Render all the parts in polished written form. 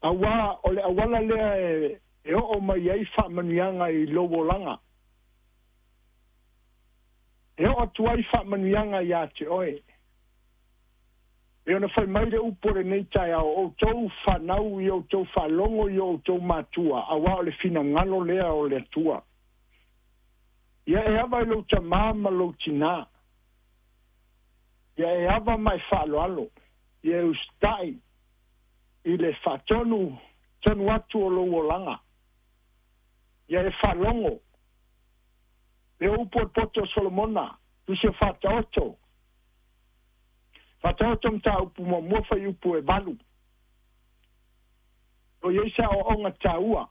Auā o le auala lea e oo mai ai faamanuiaga i lou olaga. E oo atu ai faamanuiaga ia te oe. E ona fai mai le upu o lenei taeao, o outou fanau i outou faalogo i o outou matua, auā o le finagalo lea o le Atua. Ia e ava i lou tamā ma lou tinā. Ia e ava ma e faaaloalo. Ia e usitai i le faatonu tonu atu o lou olaga. Ia e faalogo. Le upu o le poto o Solomona, tusi o Faataoto. Faataoto mataupu muamua fuaiupu e 8. O i ai se aoaoga taua.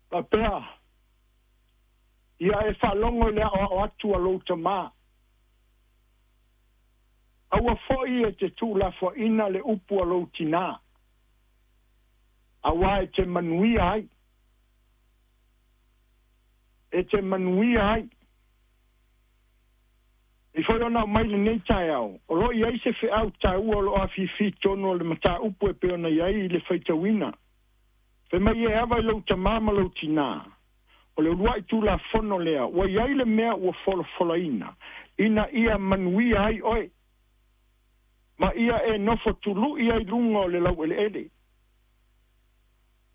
Faapea, ia e faalogo i le aoao atu a lou tamā. Aua foi e te tuulafoaiina le upu a lou tinā, auā e te manuia ai. E te manuia ai. E foi ona aumai lenei taeao, o lo o i ai se feau taua o lo o afifi i totonu o le mataupu e pei ona i ai i le faitauina. Fai mai e ava i lou tamā ma lou tinā, o le uluai Tulafono lea ua i ai le mea ua folafolaina, ina ia manuia ai oe, ma ia e nofo tului ai luga o le laueleele.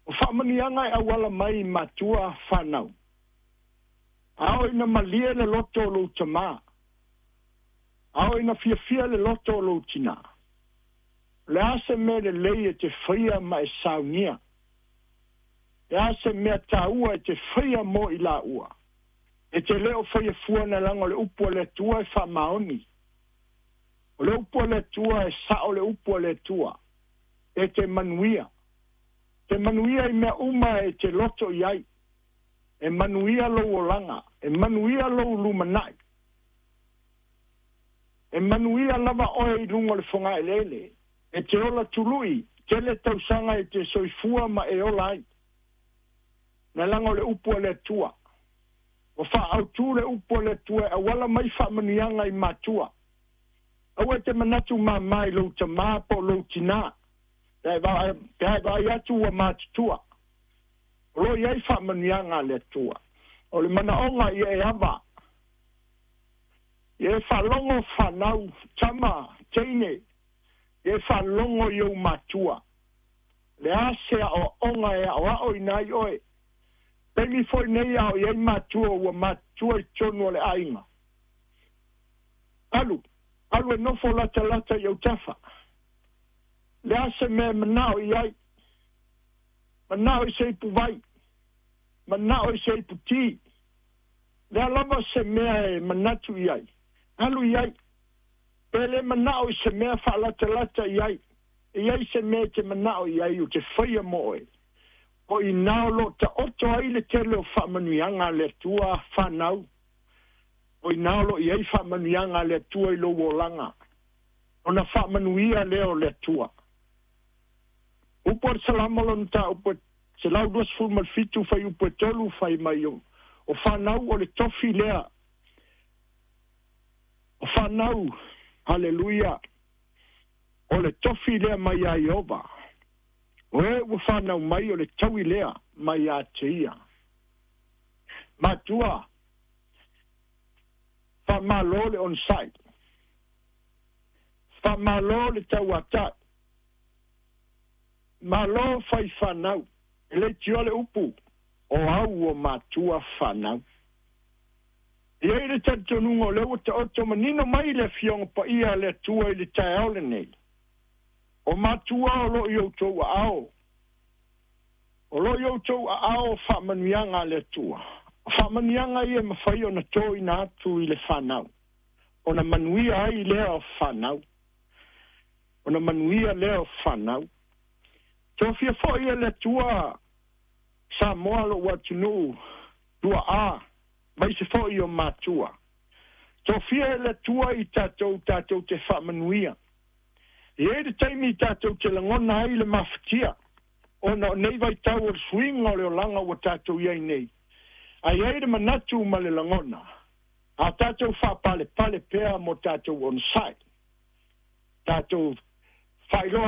O faamanuiaga e auala mai i matua fanau. A oo ina malie le loto o lou tamā, a oo ina fiafia le loto o lou tinā, o le a se mea lelei e te faia ma e saunia? Le a se mea taua e te faia mo i laua? E te le o faia fua na leaga o le upu a le Atua e faamaoni. O le upu a le Atua e sao le upu a le Atua. E te manuia. Te manuia i mea uma e te loto i ai. E manuia lou olaga. E manuia lou lumanai. E manuia lava oe i luga o le fogaeleele. E te ola tului, tele tausaga e te soifua ma e ola ai. Na leaga o le upu a le Atua. Ua faaautu le upu a le Atua e auala mai faamanuiaga i matua. Aua e te manatu māmā i lou tamā po o lou tinā, pe a e vaai atu ua matutua. O lo o i ai faamanuiaga a le Atua. O le manaoga ia e ava. Ia e faalogo fanau, tama, teine, ia e faalogo i ou matua. Le a se aoaoga e aoaoina ai oe. Taimi foi nei a o i ai matua ua matutua i totonu o le aiga. Alu, alu e nofo latalata i autafa. Le a se mea e manao i ai. Manao i se ipuvai. Manao i se iputī. Le a lava se mea e manatu i ai. Alu i ai. Pe le manao i se mea faalatalata i ai. E i ai se mea e te manao i ai ou te faia mo oe. O i ina o lo o taoto ai le tele o faamanuiaga a le Atua fanau. O i ina o lo o i ai faamanuiaga a le Atua i lou olaga. Ona faamanuia lea o le Atua. Upu a le Salamo lona mataupu e 127 fuaiupu e 3 fai mai o fanau o le tofi lea. O fanau, haleluia, o le tofi lea mai iā Ieova. O e ua fanau mai o le taui lea mai ia te ia. Matua, faamalo le onosai. Faamalo le tauatai. Malo fai fanau. E leitioa le upu, o au o matua fanau. E i ai le talitonuga o lea ua taoto manino mai le Afioga Paia a le Atua i le taeao lenei, o matua o lo o i outou aao, o lo o i outou aao faamanuiaga a le Atua. O faamanuiaga ia e mafai ona toina atu i le fanau, ona manuia ai lea o fanau, ona manuia lea o fanau. Tofia foi e le Atua Samoa lou atunuu tuaa, maise foi o matua. Tofia e le Atua i tatou tatou te faamanuia. E i ai le taimi tatou te lagona ai le mafatia, ona o nei vaitau o le suiga o le olaga ua tatou i ai nei. A i ai le manatu ma le lagona, a tatou faapalepale pea mo tatou onosai, tatou faailoa